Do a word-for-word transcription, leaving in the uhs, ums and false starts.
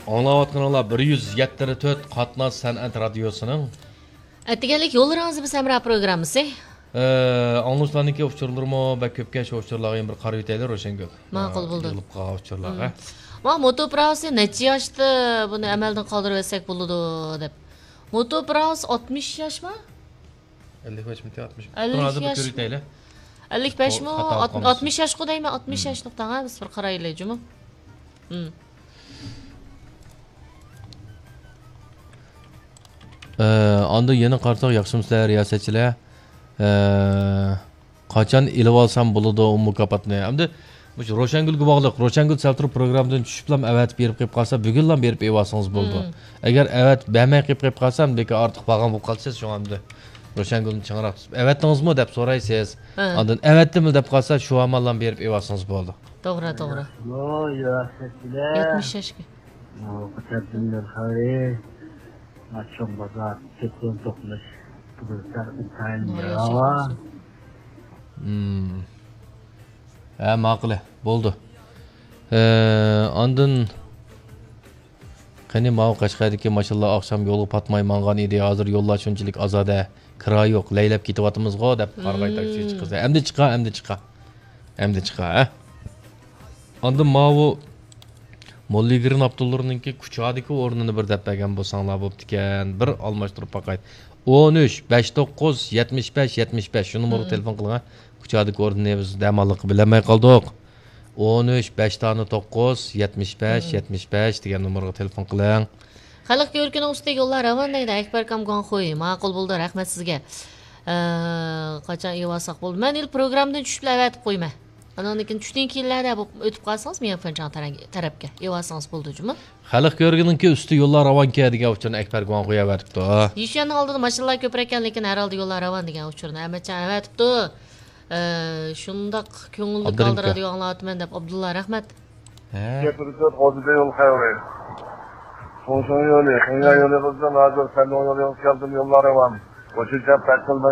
ئاڭلاۋاتقىنىڭلار بىر يۈز يەتتە تۆت قاتناش سەنئەت رادىيوسىنىڭ ئەتىگەنلىك يوللىرىڭىز بىز ھەمراھ پروگراممىسى. ئاڭلىغۇچىلارنىڭكى ئۇچۇرلىرىمۇ بەك كۆپكەن، شۇ ئۇچۇرلارغا يەنە بىر قارىۋېتەيلى، روشەنگۈل. ماقۇل بولدى. يىغىلىپ قالغان ئۇچۇرلارغا. مم. ما موتو پراۋسى نەچچە ياشتا بۇنى ئەمەلدىن قالدۇرۇۋەتسەك بولىدۇ دەپ. موتو پراۋس ئاتمىش ياشما؟ ئەللىك بەشمىتى، ئاتمىش؟ ئەللىك ھازىر بىر ياش. كۆرۈۋېتەيلى. ئەللىك بەشمۇ؟ خاتا ئات-، قالمىسۇن. ئاتمىش ياشقۇ دەيمەن، ئاتمىش ياشلىق دەڭە، بىز بىر قارايلى جۇمۇ. مم. ئە، ئاندىن يەنە قارىساق، ياخشىمۇسىلەر رىياسەتچىلەر؟ ئە، قاچان ئېلىۋالسام بولىدۇ ئۇ مۇكاپاتنى؟ ئەمدى مۇشۇ روشەنگۈلگە باغلىق. روشەنگۈل سەل تۇرۇپ پروگراممىدىن چۈشۈپلا ئەۋەتىپ بېرىپ قېلىپ قالسا، بۈگۈنلا بېرىپ ئېلىۋالسىڭىز بولىدۇ. مم. ئەگەر ئەۋەتىپ بەرمەي قېلىپ قېلىپ قالسا، ئەمدى ئارتۇق بارغان بولۇپ قالىسىز. شۇڭا ئەمدى روشەنگۈلنى چىڭراق تۇتۇپ، «ئەۋەتتىڭىزمۇ؟» دەپ سورايسىز. ھە. ئاندىن «ئەۋەتتىملا» دەپ قالسا، شۇ ئامال بىلەن بېرىپ ئېلىۋالسىڭىز بولىدۇ. توغرا، توغرا. يەتمىش ياشقا. مم. ھە، ماقۇلى، بولدى. ئە، ئاندىن قېنى ماۋۇ قەشقەردىكى ماشىنىلار ئاخشام يولغا پاتماي ماڭغان ئىدى، ھازىر يوللار شۇنچىلىك ئازادە، كىرا يوق، لەيلەپ كېتىۋاتىمىزغۇ دەپ قارىغاي تاكسىچى قىز. ئەمدى چىقا، ئەمدى چىقا. ئەمدى چىقا، ھە؟ ئاندىن ماۋۇ موللىگىرىن ئابدۇللىرىنىڭكى كۇچادىكى ئورنىنى بىر دەپ بەرگەن بولساڭلار بوپتىكەن. بىر ئالماشتۇرۇپ باقاي. ئون ئۈچ، بەش توققۇز، يەتمىش بەش، يەتمىش بەش. شۇ نومۇرغا تېلېفون قىلىڭ، ھە. كۇچادىكى ئورنىنى بىز دەماللىققا بىلەلمەي قالدۇق. ئون ئۈچ، بەش دانە توققۇز، يەتمىش بەش، يەتمىش بەش دېگەن نومۇرغا تېلېفون قىلىڭ. خەلق كۆركىنىڭ ئۈستىگە يوللار راۋان دەيدۇ، ئەكبەركام گۇاڭخۇي. ماقۇل بولدى، رەھمەت سىزگە. ئە، قاچان ئېلىۋالساق بولدى؟ مەن ھېلى پروگراممىدىن چۈشۈپلا ئەۋەتىپ قويىمەن. ئانىڭدىن كېيىن چۈشتىن كېيىنلەردە بولۇپ ئۆتۈپ قالسىڭىز، ميەنفېنچاڭ تەرەپكە ئېلىۋالسىڭىز بولىدۇ جۇمۇ. خەلق كۆركىنىڭكى ئۈستى يوللار راۋانكەن دېگەن ئۇچۇرنى ئەكبەر گۇاڭخۇي ئەۋەتىپتۇ. يىشۈەننىڭ ئالدىدا ماشىنىلار كۆپرەككەن، لېكىن ھەر ھالدا يوللار راۋان دېگەن ئۇچۇرنى ئەمەتجان ئەۋەتىپتۇ. ئە، شۇنداق كۆڭۈللۈك ھالدا رادىيو ئاڭلاۋاتىمەن دەپ، ئابدۇللا، رەھمەت. ھە. يەتتە تۆت ئوتتۇز يول خەۋىرى. شۇڭشۇڭ يولى، خېڭيا يولى قىزىل، ھازىر سەندۇڭ يولى كەلدىم، يوللار راۋان. قوشۇن چاپ پەتقىل بىلەن